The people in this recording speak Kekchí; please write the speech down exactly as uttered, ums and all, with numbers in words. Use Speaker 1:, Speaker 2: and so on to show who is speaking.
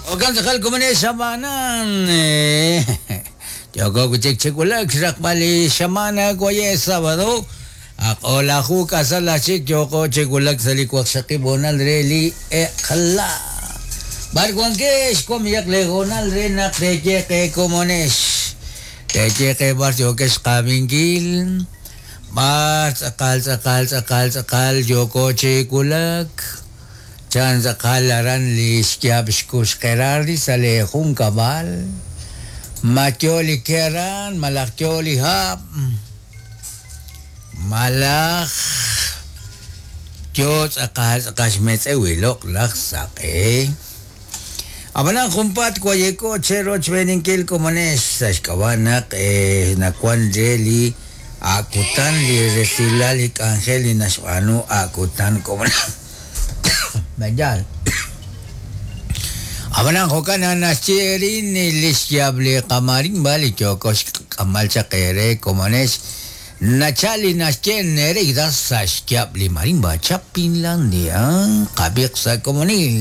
Speaker 1: Okan tz'aqal komonex xamanan. Yoko kuchik chikulak xraqb'al li xamana waye sábado. Aq'olaju k'asal achik yoko chikulak sa' li waqxaqib' honal re li eq'la. Barwankex komiyaq le honal re naq teyeqe komonex. Teyeqe bar yokex qabinkil. Bar tz'aqal tz'aqal tz'aqal tz'aqal yoko chikulak. Chan tz'aqal aran li xyab' xkux qerardi sa' li jun kab'al. Ma yo li keran, malaj yo li hab'. Malaj yo tz'aqal tz'aqal xmetz'ew iloq laj saq'e. Ab'anan junpaat wayeko chero chb'eninkil komonex sa' xk'ab'a' naq eh, nawan re li akutan li resilal li k'anjel li naxb'aanu akutan komonex. Mayal. Ab'anan jo'kan naxyerin li xyab' li qamarimba li yoko xk'amal chaq ere komonex nachal li naxye Nereida sa' xyab' li marimba Chapinlandia qab'iq sa' komonil.